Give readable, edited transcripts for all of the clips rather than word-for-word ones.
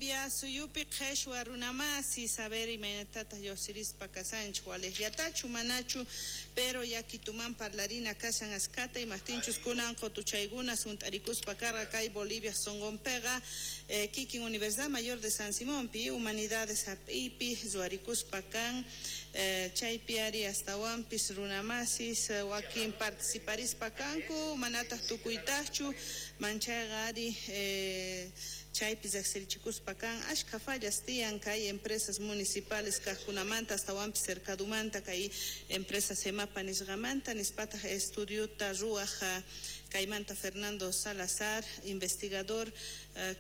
Suyupi qheshwa runamasi saber imaynatataq lluqsirispa kasanchik, waliqllatachu manachu, pero yakituman parlarina kashan askata, imaqtinchus kunan qutuchaykuna sunt'arikuspa karqa kay Bolivia sunqunpiqa, kikin Universidad Mayor de San Simonpi humanidades hap'iypi ruwarikuspa kan, chaypi ari astawanpis runamasis wakin participarispa kanku, manataq tukuytaqchu, manchayqa ari chaypi riqsirichikuspa kan ashkha fallas tiyan kay empresas municipales kaqkunamanta, astawanpis cercadumanta kay empresa Semapa nisqamanta, nispataq estudiota ruwaq kaymanta Fernando Salazar, investigador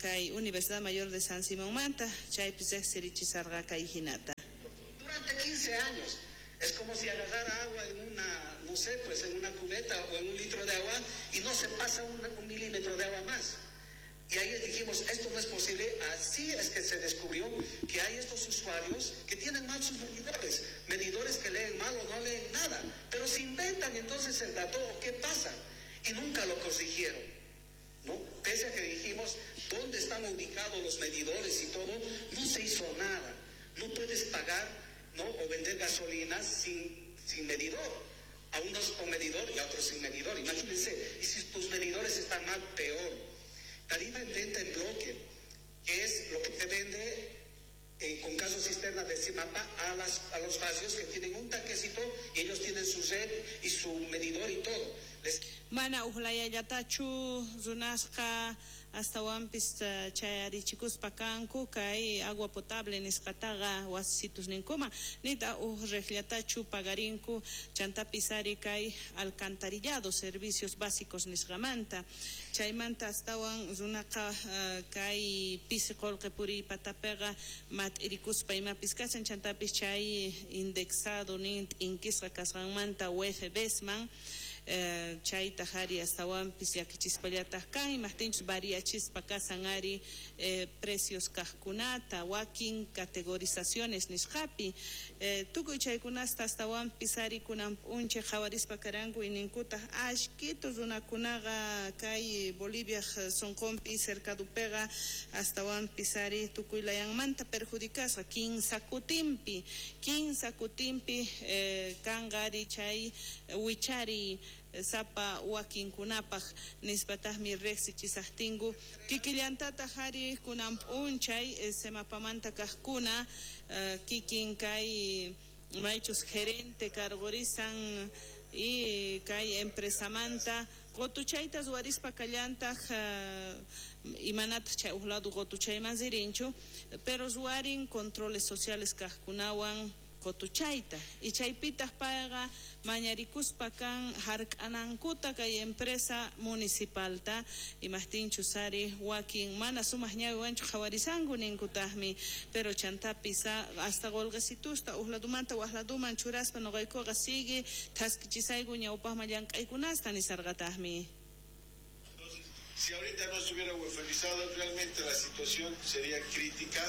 kay Universidad Mayor de San Simonmanta, chaypi riqsirichisarqa kay hinata. Durante 15 años, es como si agarrara agua en una, no sé, pues en una cubeta o en un litro de agua y no se pasa un milímetro de agua más. Y ahí dijimos, esto no es posible. Así es que se descubrió que hay estos usuarios que tienen mal sus medidores, medidores que leen mal o no leen nada, pero se inventan entonces el dato, ¿qué pasa? Y nunca lo corrigieron, ¿no? Pese a que dijimos, ¿dónde están ubicados los medidores y todo? No se hizo nada. No puedes pagar, ¿no?, o vender gasolina sin medidor. A unos con medidor y a otros sin medidor. Imagínense, y si tus medidores están mal, peor. Tarifa en venta en bloque, que es lo que te vende con casos cisterna de Semapa a los barrios que tienen un tanquecito y ellos tienen su red y su medidor y todo. Les Mana ujlayallatachu runasqa astawanpis chayarichikuspa kanku kay agua potable nisqataqa wasisitus ninkuma, nita uj riqllatachu pagarinku chantapis ari kay alcantarillado servicios básicos nisqamanta, chaymanta astawan runaqa kay pisi qullqi puriypatapiqa mat'irikuspa imapis kashan, chantapis chay indexado nin t'inkisqa kasqanmanta UFBsman, chaytaq ari astawanpis llakichispallataq kan, imaqtinchus variachispa kasan ari precios kaqkunata wakin categorizaciones nisqapi, tukuy chaykunasta astawanpis ari kunan p'unchay qhawarispa karanku yninkutaq ashkitu runakunaqa kay Bolivia sunqunpi cercadupiqa astawanpis ari tukuy layanmanta perjudicasqa kinsa kutinpi kanqa ari chay wichari sapa wakinkunapaq nispataqmi riqsichisaqtinku kikillantataq ari kunan p'unchay Semapamanta kaqkuna kikin kay maychus gerente cargorisan y kay empresamanta qutuchayta ruwarispa kallantaq imanataq chay uj lado qutuchayman ririnchu, pero ruwarin controles sociales kaqkunawan qutuchayta y chaypitaq payqa mañarikuspa kan hark'anankuta kay empresa municipalta, imaqtinchus ari wakin mana sumaq ñawiwanchu qhawarisanku ninkutaqmi, pero chantapis hasta qullqisitusta uj ladumanta waj laduman churaspa nuqaykuqa sigue thaskichisayku ñawpaqman llank'aykunasta nisarqataqmi. Si ahorita no estuviera uefelizado, realmente la situación sería crítica.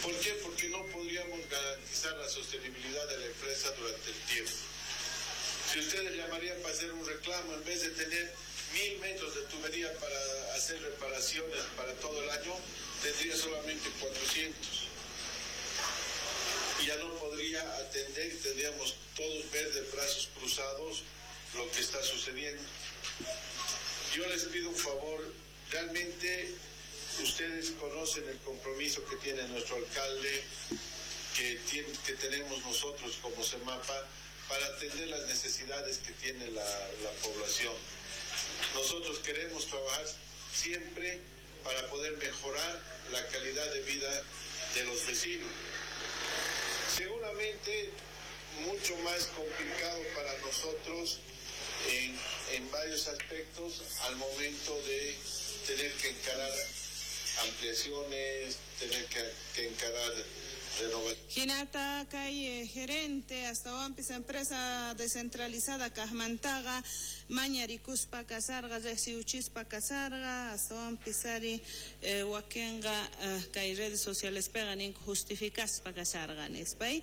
¿Por qué? Porque no podríamos garantizar la sostenibilidad de la empresa durante el tiempo. Si ustedes llamarían para hacer un reclamo, en vez de tener 1000 metros de tubería para hacer reparaciones para todo el año, tendría solamente 400. Y ya no podría atender y tendríamos todos ver de brazos cruzados lo que está sucediendo. Yo les pido un favor, realmente ustedes conocen el compromiso que tiene nuestro alcalde, que tenemos nosotros como Semapa, para atender las necesidades que tiene la población. Nosotros queremos trabajar siempre para poder mejorar la calidad de vida de los vecinos. Seguramente mucho más complicado para nosotros en varios aspectos al momento de tener que encarar ampliaciones, tener que encarar renovaciones. Hinata kay gerente astawanpis empresa descentralizada kajmantaqa mañarikuspa kasarqa, riqsiuchispa kasarqa, astawanpis ari wakinqa kay redes socialespiqa ninku justificaspa kasarqa nispay.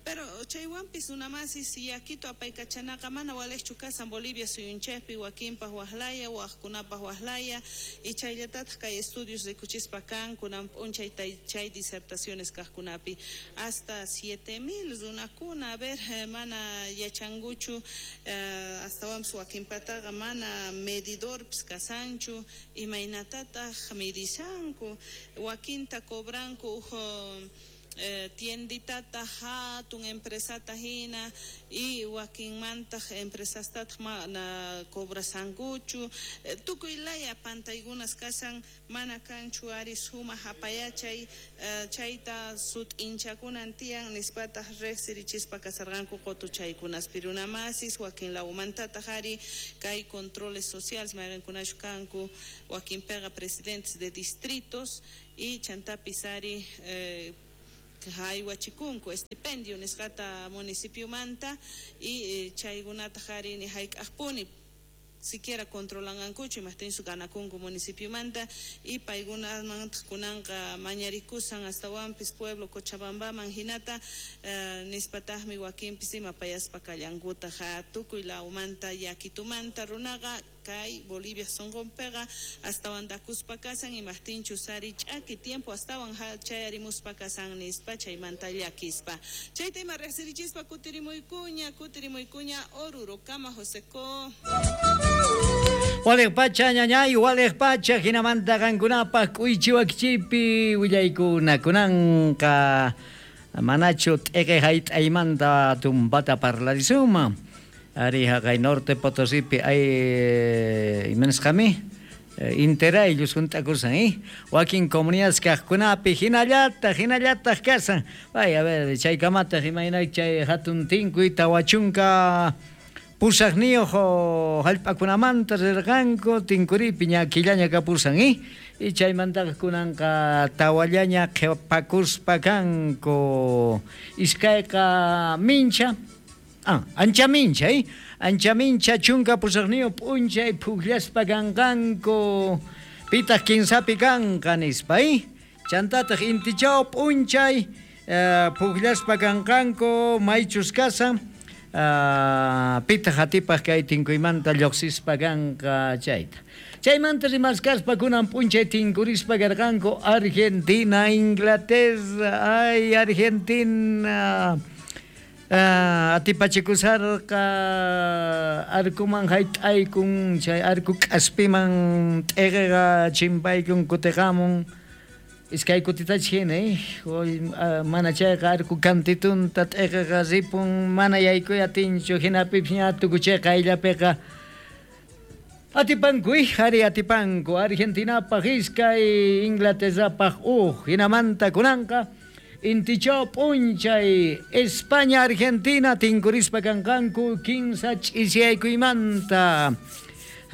Pero chaywanpis runamasis yakito apaykachanaqa mana waliqchu kasan Bolivia suyunchikpi, wakinpaq waqlaya, waqkunapaq waqlaya, y chayllatataq kay estudios rikuchispa kan kunan p'unchay chay disertaciones kaqkunapi hasta 7000 runakuna, a ver, mana yachankuchu, astawanpis wakinpataqa mana medidorpis kasanchu, imaynatataq midishanku, wakinta cobranku uj tienditata hatun empresata hina y wakinmantaq empresastataq mana cobrasankuchu, tukuy laya pantaykunas kasan, mana kanchu ari sumaq apayachay, chayta sut'inchakunan tiyan nispataq riqsirichispa kasarqanku qutuchaykunaspi runamasis, wakin lawmantataq ari kay controles sociales mayqinkunachu kanku, wakinpiqa presidentes de distritos y chantapis ari haywachikunku estipendio nisqata municipiomanta y chaykunataq ari ni hayk'aqpuni siquiera controlanqankuchu imaqtinchu ganakunku municipiomanta y paykunamantaq kunanqa mañarikusan astawanpis pueblo Cochabambaman hinata, nispataqmi wakinpis ima payaspa kallankutaq tukuy lawmanta yakitumanta runaqa kay Bolivia sunqunpiqa astawan dakuspa kasan imaqtinchu sari ch'aki tiempo astawan chayarimuspa kasan nispa chaymanta llakispa. Chayta ima riqsirichispa kutirimuykuña Orurokama Joseco. Waliq pacha ñañay, waliq pacha hinamanta qankunapaq k'uychiwakchipi willaykuna kunanqa manachu t'eqe hayt'aymanta tumpata parlarisunman. Ari haqay Norte Potosipi ay imanisqami interayllu hunt'akusan, wakin comunidades kaqkunapi hinallataq kasan. Ay, a ver, chaykamataq imaynay chay hatun tinkuy 48 hallp'akunamanta rirqanku tinkuripi ña killaña kapusan, y chaymantaqa kunanqa tawallaña qhipakuspa kanku. Iskayqa mincha, ancha mincha, ancha mincha 18 p'unchay phujllaspa kanqanku, pitaq 15pi kanqa nispa, chantataq intichaw p'unchay phujllaspa kanqanku maychus kasan, pitaq atipaq kay tinkuymanta lluqsispa kanqa chayta. Chaymanta rimaskaspa kunan p'unchay tinkurispa karqanku Argentina, Inglaterra, ay Argentina atipachikusarqa arkuman hayt'aykun, chay arku k'aspiman t'eqeqa chimpaykun kutiqamun, iskay kutitachi hina, mana chayqa arku kantitunta t'eqeqa ripun, mana yaykuy atinchu, hinapipis ña tukuchayqa ayllapiqa atipanku, ari atipanku, Argentinapaq iskay, Inglaterrapaq uj, hinamanta kunanqa intichaw p'unchay España Argentina tinkurispa kanqanku 15 ch'isiyaykuymanta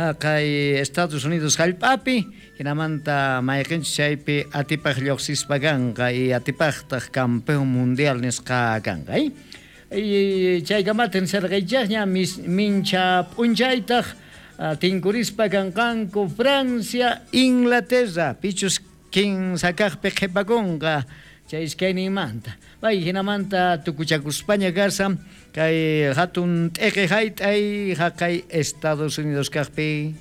haqay Estados Unidos hallp'api, hinamanta mayqinchus chaypi atipaq lluqsispa kanqa y atipaqtaq campeón mundial nisqa kanqa, y chaykamata nisarqaychaqña mincha p'unchaytaq tinkurispa kanqanku Francia Inglaterra, pichus 15 kaqpi qhipakunqa chay iskayninmanta. Bay hinamanta tukuchakuspaña kasan kay hatun t'eqe hayt'ay haqay Estados Unidos kaqpi.